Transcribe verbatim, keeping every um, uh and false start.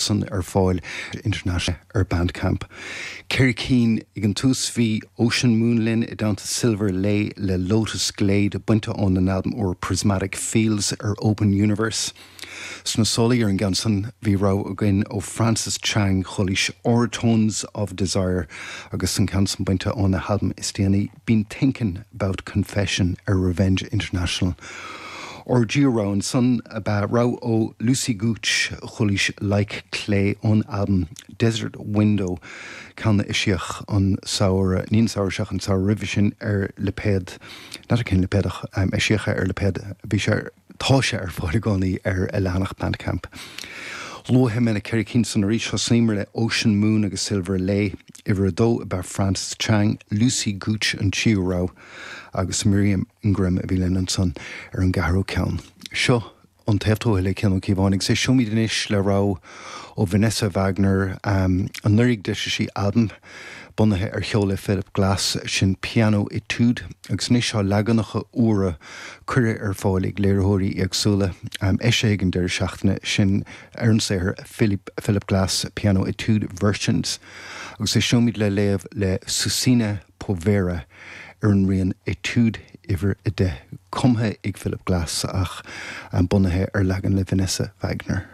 San ar fáil International ar Bandcamp. Ceithre cinn ag an tús bhí Ocean Moon linn i dteannta Silver Lay le Lotus Glade bainte ón an albam úr Prismatic Fields ar Open Universe. Sna sála ar an gceann san bhí rogha againn ó Francis Chang chualaís Orotones of Desire agus an ceann san bainte óna albam is déanaí Been Thinking About Confession ar Revenge International. Ár dtríú rogha ansan ab ea rogha ó Lucy Gooch chualaís Like Clay ón albam Desert Window ceann a eisíodh an samhradh ní an samhradh seo an samhradh roimhe sin ar lipéad n'fheadar cén lipéad ach eisíodh ar lipéad bhí sé tá sé ar fáil i gcónaí ar a leathanach Bandcamp. Luafaidh mé na ceithre cinn san arís thosaíomar le Ocean Moon agus Silver Lay, uimhir a dó ab ea Francis Chang, Lucy Gooch an tríú rogha agus Miriam Ingram a bhí linn ansan ar an gceathrú ceann. Seo an taobh tuaithe le Cian Ó Cíobháin agus éisteoimid anois le rogha ó Vanessa Wagner um, anuraidh d'eisigh sí albam bunaithe ar cheol le Philip Glass sin Piano Etude agus anois tá leaganacha úra curtha ar fáil ag léiritheoirí éagsúla um, eisíodh ag an deireadh seachtaine sin ar an saothar Philip, Philip Glass Piano Etude Versions agus éisteoimid le léamh le Susina Povera ar an rian Etude uimhir a deich cumtha ag Philip Glass ach um, bunaithe ar leagan le Vanessa Wagner.